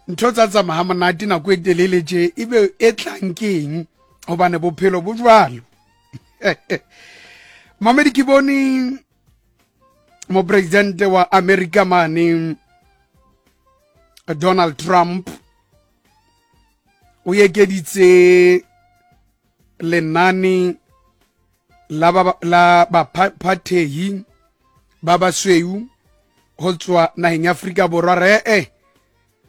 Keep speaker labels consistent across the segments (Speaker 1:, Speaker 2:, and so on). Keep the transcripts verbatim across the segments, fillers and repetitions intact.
Speaker 1: Ntho tsa tsamaya ha monate nako e telele tje, ebe e tlang ke eng? Hobane bophelo bo jwalo. Mamedi, ke bone mopresidente wa America mane Donald Trump o ekeditse lenane la ba la baphathehi ba basweu ho tswa naheng ya Afrika Borwa. Re e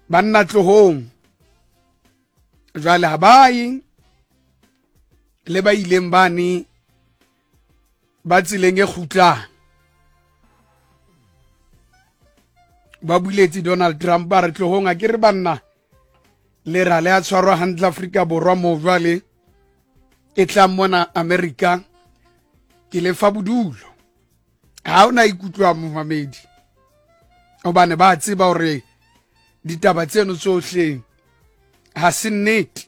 Speaker 1: banna tlohong jwale, ha ba ye le ba ileng bane ba tseleng e kgutlang. Ba buletse Donald Trump ba re tlohong, a ke re banna le ra le a tshwarwa hantle Afrika Borwa mo, jwale e tlang mona America ke le fa bodulo. Ha o na ikutlwa momamedi, hobane ba tseba hore ditaba tseno tsohle ha se nnete.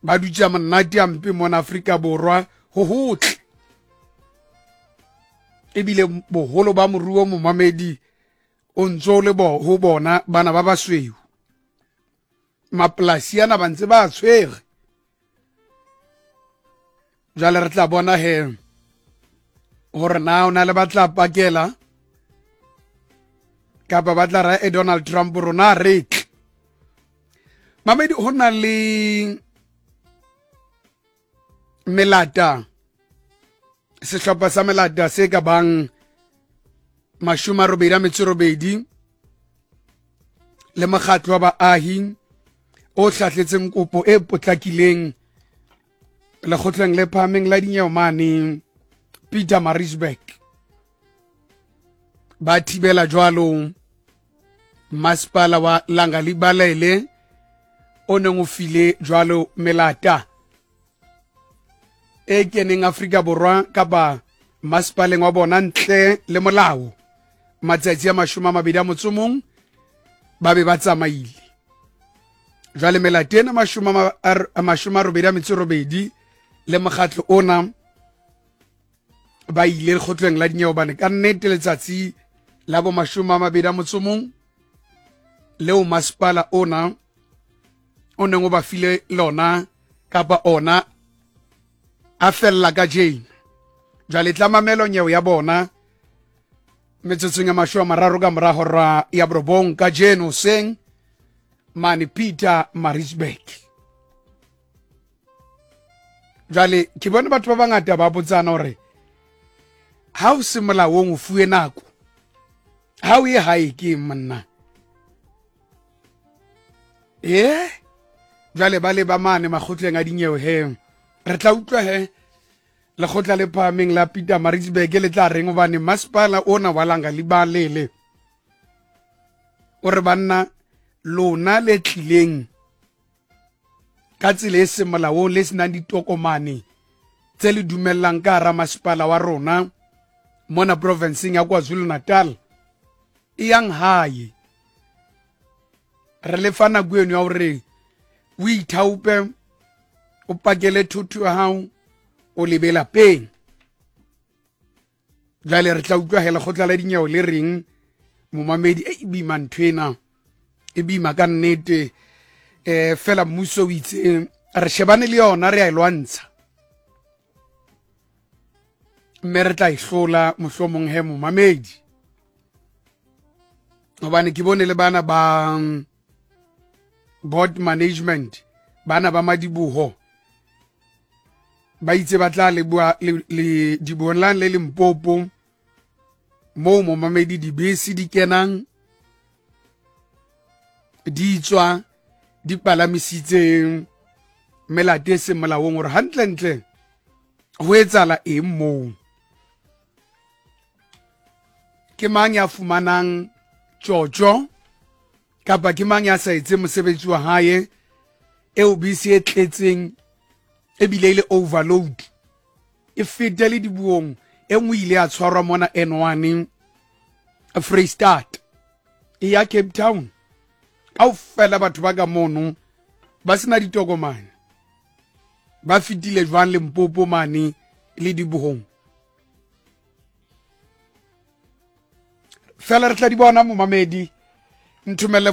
Speaker 1: Ba dutse monate a mpe mona Afrika Borwa ho hotle, ebile boholo ba moruo momamedi o ntso le bo ho bona bana ba basweu. Mapolasi ana ba ntse ba tshwere. Jwale re tla bona he hore na o na le ba tla pakela kapa ba tla ra e Donald Trump rona re tle. Mamedi, ho na le melata, sehlopha sa melata se ka bang mashome a robedi a metso e robedi le mokgatlo wa baahi o hlahletseng kopo e potlakileng lekgotleng le phahameng la dinyewe mane Pietermaritzburg. Ba thibela jwalo masepala wa Langalibalele o neng o file jwalo melata e keneng Afrika Borwa kapa masepaleng wa bona ntle le molao matsatsi a mashome a mabedi a motso mong ba be ba tsamaile. Jwale melata ena mashome a mashome a robedi a metso e robedi le mokgatlo ona ba ile lekgotleng la dinyewe, hobane ka nnete letsatsi la bo mashome a mabedi a motso mong leo masepala ona o neng o ba file lona kapa ona a fella ka jeno. Jwale tla mamelo nyewe ya bona metsotsong ya mashome a mararo ka mora hora ya borobong kajeno hoseng mane Pietermaritzburg. Jwale ke bone batho ba bangata ba botsana hore ha o se molaong o fuwe nako, ha o ye hae ke monna e jwale ba le ba mane makgotleng a dinyewe he. Re tla utlwa he lekgotla le phahameng la Pietermaritzburg le tla reng, hobane masepala ona wa Langalibalele o re banna lona le tlileng ka tsela e seng molaong le senang ditokomane tse le dumellang ka hara masepala wa rona mona provinseng ya KwaZulu-Natal, e yang hae. Re le fa nako eno ya hore o ithaope o pakele thotho ya hao o lebe lapeng. Jwale re tla utlwa he lekgotla la dinyewe le reng momamedi. E boima ntho ena, e boima ka nnete. Eh fela mmuso o itse re shebane le yona, re a e lwantsha mme re tla e hlola mohlomong he momamedi. Hobane ke bone le bana ba board management, bana ba madiboho ba itse ba tla leboha le dibohong lane le Limpopo moo momamedi dibese di kenang di tswa di palamisitse melate e seng molaong, hore hantlentle ho etsahala eng moo. Ke mang ya fumanang tjotjo kapa ke mang ya sa etseng mosebetsi wa hae eo bese e tletseng ebile e le overload e fete le dibuong. E nngwe ile ya tshwarwa mona N one Freistata e ya Cape Town, kaofela batho ba ka mono ba sena ditokomane ba fetile jwang Limpopo mane le dibohong. Fela re tla di bona momamedi, nthomelle.